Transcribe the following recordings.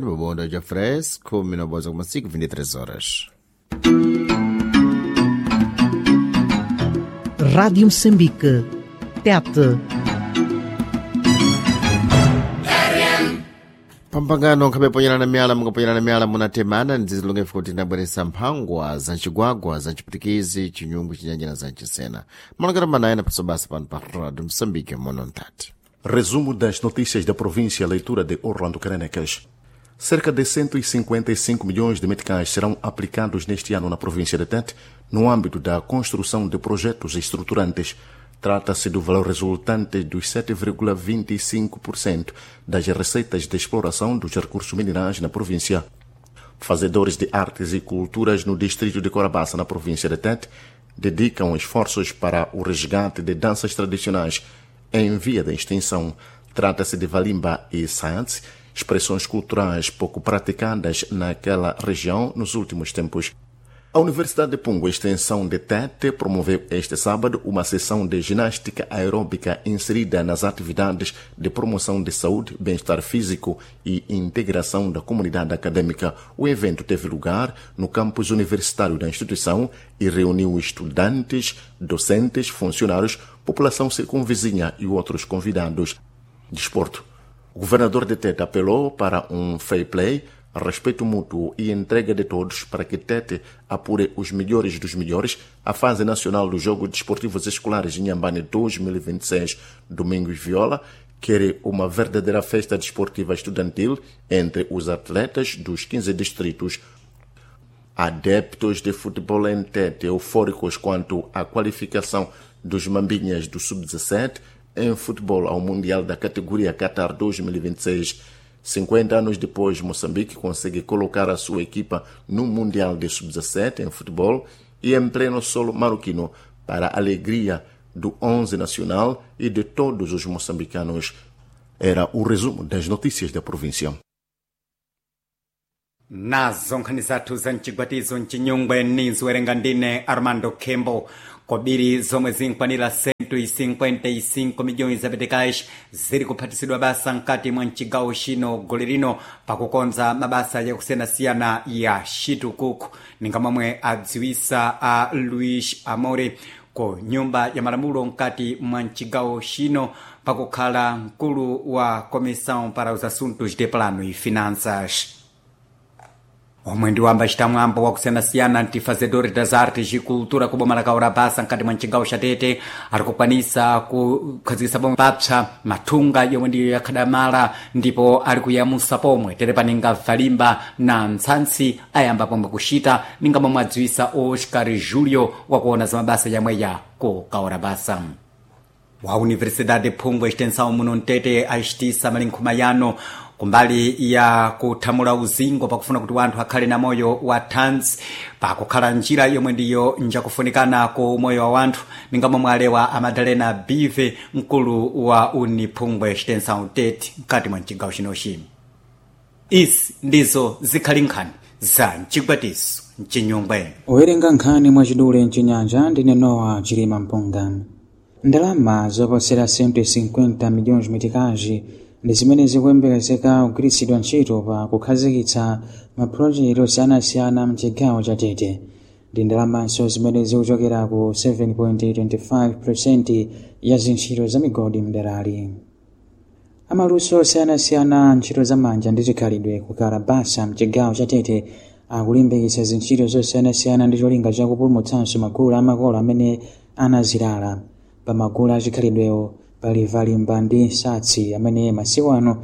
Bobondo já fresco, 19,5, 23 horas. Rádio Moçambique, TET. Pampangano nkhameponyerana miyala mukaponyerana miyala munatemana ndzizilongefu kuti ndabweresa mphangwa za ncigwagwa za ncipwitikizi chinyungu chinyanja na za ncisena malongero manayena pasobasa pano pa Rádio Moçambique mono ntati. Resumo das notícias da província, leitura de Orlando Carenecas. Cerca de 155 milhões de meticais serão aplicados neste ano na província de Tete, no âmbito da construção de projetos estruturantes. Trata-se do valor resultante dos 7,25% das receitas de exploração dos recursos minerais na província. Fazedores de artes e culturas no distrito de Corabaça, na província de Tete, dedicam esforços para o resgate de danças tradicionais em via de extinção. Trata-se de Valimba e Science, expressões culturais pouco praticadas naquela região nos últimos tempos. A Universidade de Pungo, extensão de Tete, promoveu este sábado uma sessão de ginástica aeróbica inserida nas atividades de promoção de saúde, bem-estar físico e integração da comunidade acadêmica. O evento teve lugar no campus universitário da instituição e reuniu estudantes, docentes, funcionários, população circunvizinha e outros convidados. Desporto. O governador de Tete apelou para um fair play, respeito mútuo e entrega de todos para que Tete apure os melhores dos melhores à fase nacional dos Jogos Desportivos Escolares em Inhambane 2026. Domingos Viola quer uma verdadeira festa desportiva estudantil entre os atletas dos 15 distritos. Adeptos de futebol em Tete eufóricos quanto à qualificação dos Mambinhas do Sub-17 em futebol ao Mundial da categoria Qatar 2026. 50 anos depois, Moçambique consegue colocar a sua equipa no Mundial de Sub-17 em futebol e em pleno solo marroquino, para a alegria do 11 nacional e de todos os moçambicanos. Era o resumo das notícias da província. Nazo nkhani zathu za mchigwatizo mchinyungwe ninziwerenga ndine Armando Kembo. Kobiri zomwe zinkwanira 155 milhões zapetekais ziri kuphatisidwa basa mkati mwa mchigawo chino gole lino pakukonza mabasa yakusiyanasiyana ya xitukuku, ninga momwe adziwisa a Luis Amore ku nyumba ya malamulo mkati mwa mchigawo chino pakukhala mkulu wa Comissão para os Assuntos de Plano e Finanças. Omwe ndi wamba citamwambo wakusiyanasiyana ntifazedores das artes e cultura ku boma la Kaurabasa mkati mwa mcigawo xa Tete ari kukwanisa kukhazikitsa pomwe papsa mathunga yomwe ndiyo yakhadamala ndipo ari kuyamusa pomwe tere paninga valimba na ntsantsi ayamba pomwe kuxita ninga momwe adziwisa Oscar Julio wakuona za mabasa yamweya ku Kaurabasa. Wa Universidade Phungwe extensão muno mtete axitisa malinkhuma yano kumbali ya kuthamula uzingo pakufuna kuti wanthu akhale na moyo wa thanzi pakukhala njira yomwe ndiyo njakufunikana ku moyo wa wanthu, ninga momwe alewa a Madalena Bive mkulu wa Uniphungwe extensão Tete mkati mwa mcigawo chinochi. Izi ndizo zikhali nkhani za mcigwatiso mcinyungwe. Owerenga nkhani mwachidule mchinyanja ndine Nowa Chilima Mpunga. Ndalama zoposera 150 milhões mitikazi ndi zimene zikuyembekezeka kugwiritsidwa ntchito pa kukhazikitsa mapulojekiti osiyanasiyana mchigawo cha Tete. Ndi ndalamanso zimene zikuchokera ku 7.25% ya zintchito za migodi mderali. Amaluso osiyanasiyana ntchito zamanja ndi chikhalidwe ku Kalabasa mchigawo cha Tete akulimbikitsa zintchito zosiyanasiyana ndi cholinga chakupulumutsanso magulu amakolo amene anazilala. Pa magulu achikhalidwewo pali valimba ndi nsatsi amene masiku ano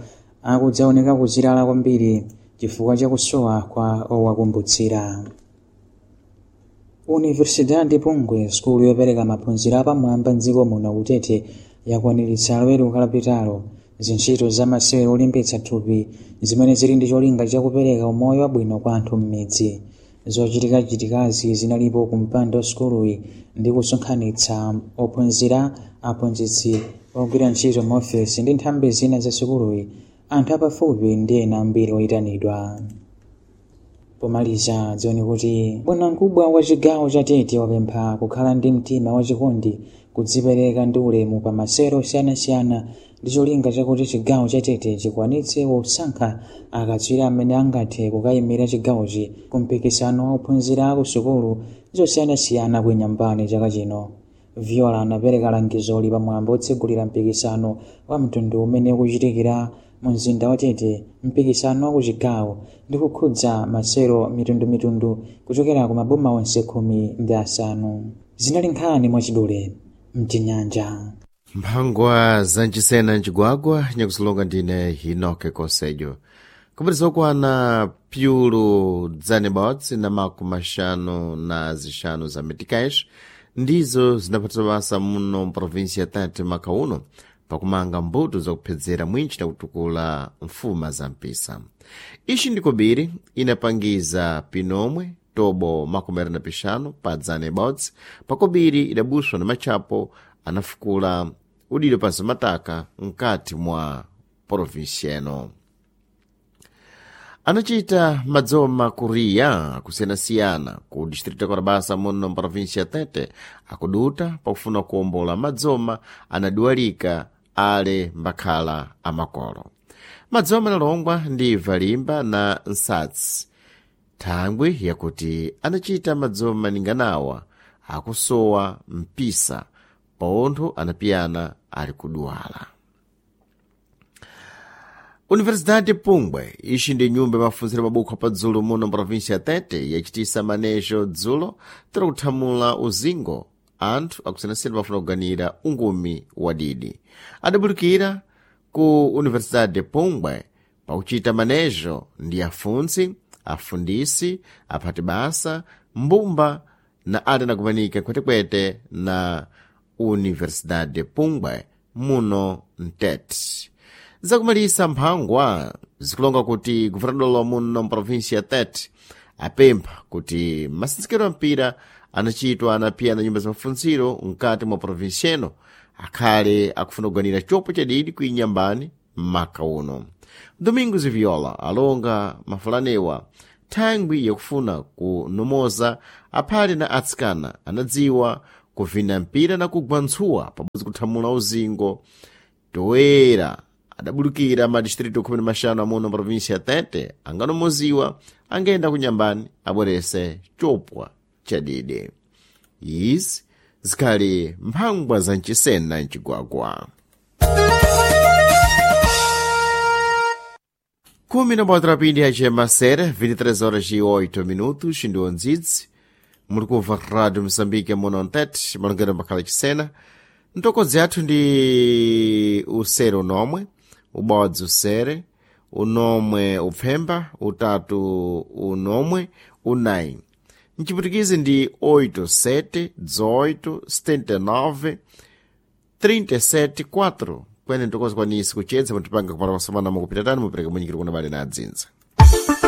akudzaoneka kuzilala kwambiri chifukwa chakusowa kwa owakumbutsira. Universidade Pungwe, sukulu yopereka maphunziro apamwamba mdziko muno kutete, yakwaniritsa loweruka lapitalo zintchito za masewero olimbitsa thupi zimene zili ndi cholinga chakupereka umoyo wabwino kwa anthu m'midzi. Zochitikachitikazi zinalipo ku mpando sukuluyi ndi kusonkhanitsa ophunzira, aphunzitsi, ogwira ntchito m'ofesi ndi nthambi zina za sukuluyi, anthu apafupi ndi ena ambiri oyitanidwa. Pomaliza, dziwani kuti bwanamkubwa wa chigawo cha Tete wapempha kukhala ndi mtima wachikondi. Kudzipereka ndi ulemu pa masewero osiyanasiyana ndi cholinga chakuti chigawo cha Tete chikwanitse kusankha akatswiri amene angathe kukayimira chigawochi ku mpikisano wa ophunzira aku sukulu zosiyanasiyana ku Inyambani chaka chino. Viola anapereka langizoli pamwambo otsegulira mpikisano wa mtundu umene ukuchitikira mu mzinda wa Tete. Mpikisano wa kuchigawo ndi kukhudza masewero mitundumitundu kuchokera ku maboma onse 15. Zinali nkhani mwachidule mchinyanja. Mphangwa zanchisena mcigwagwa nyakusilonga ndine Hinoke Kosejo. Kupatisa okwana pyulu dzanebodzi na makumi axanu na zixanu za meticais ndizo zinaphatisa basa muno mprovinsia ya Tete maka uno pakumanga mbuto zakuphedzera mwinchi na kutukula mfuma za mpisa. Ixi ndikobiri inapangiza pinomwe tobo 25 pa dzana ibodzi pakobiri idabuswa na matchapo anafukula udilo pansi mataka mkati mwa provinsia ino. Anachita madzoma kuriya akusiyanasiyana ku distrito ya Korabasa muno mprovinsia ya Tete akuduta pakufuna kuwombola madzoma anaduwalika ale mbakhala amakolo. Madzoma analongwa ndi valimba na nsatsi, thangwi yakuti anachita madzoma ninganawa akusowa mpisa pontho anapiyana ali kuduwala. Universidade Pungwe ixi ndi nyumba yamafunziro mabukho apadzulu muno mprovinsia ya Tete yachitisa manejo dzulo tiri kuthamula uzingo anthu akusiyanasiyana pafuna kuganira ungumi wa didi. Adabulukira ku Universidade Pungwe pakuchita manejo ndi afuntsi, afundisi, aphati basa, mbumba na ali anakumanika kwetekwete na Universidade Pungwe muno mtete. Zakumalisa mphangwa zikulonga kuti guvernador muno mprovinsia ya Tete apempha kuti masitsikelo a mpira anachitwa anapiyana nyumba za mafunziro mkati mwa provinsia ino akhale akufuna kuganira chopo chadidi ku Inyambani maka uno. Domingos Viola alonga mafulanewa thangwi yakufuna kunomoza aphale na atsikana anadziwa kuvina mpira na kugwa ntsuwa pabodzi kuthamula uzingo toera adabulukira ma distrito 15 amuno mprovinsia ya Tete anganomoziwa angenda kunyambani abwerese chopwa chadidi. Izi zikhali mphangwa za mchisena mcigwagwa. Kumi na bota rapindi yacema sere 23 horas e 8 minutos ndi ondzidzi muli kumva Rádio Moçambique muno mtete malongero makhala chisena. Ntokodzi yathu ndi usere unomwe, ubodzi usere, unomwe upfemba, utatu unomwe, unayi. Mchiputikizi ndi 8 7 18 79 37 4 kwene ntokozi kwanisi kuchedza mutipanga kupata kwasamana mukupita tani mupereka munyikiro kuna bale na adzinza.